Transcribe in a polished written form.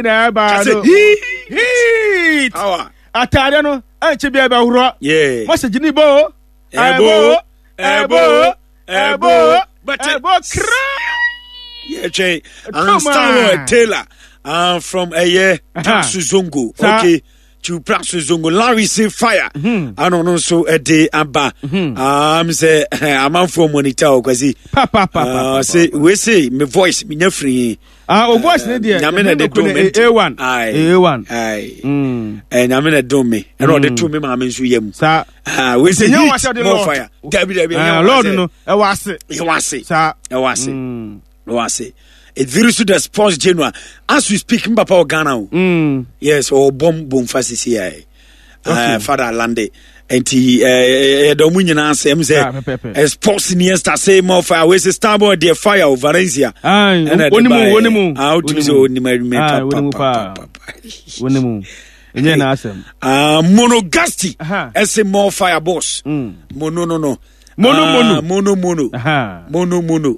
Na ɛba no heat ataade no ɛnkyɛ bi ɛbɛworɔ message ni bo ɛbo ɛbo ɛbo ɛbo kra yɛtwɛn Stanwell Taylor from ɛyɛ Praso Zongo. Okay, to Praso Zongo Larry say fire. Ano no nso ɛde aba sɛ amanfoɔ monitor o, Kwasi sɛ wei se me voice menya firi. Ah, o voice ne deɛ. Nyame na de dom me. A1 A1. Nyame na dom me ɛna ɔde to me maame nso yam. Saa. Ah, wei sɛ heat more fire. Dabi, dabi. Lord no ɛwɔ ase. Ɛwɔ ase. Saa. Ɛwɔ ase, ɛwɔ ase. Ɛdiri so the sports general as we speak, mpapa wɔ Ghana o. Yes, ɔwɔ bɔm bomfa sisi yɛ father lande nti yɛda ɔmo nyinaa sɛ ɛm sɛ sports niesta say more fire. Wei sɛ Starboy deɛ, fire o, Valencia. Ɛna de ba yɛ ah, wotumi sɛ onim adwuma papapapa. Wonimu ɛnyɛ n'asɛm. Monogasti ɛsɛ more fire, boss. Mono no no. Mono mono. Mono mono mono mono mono mono.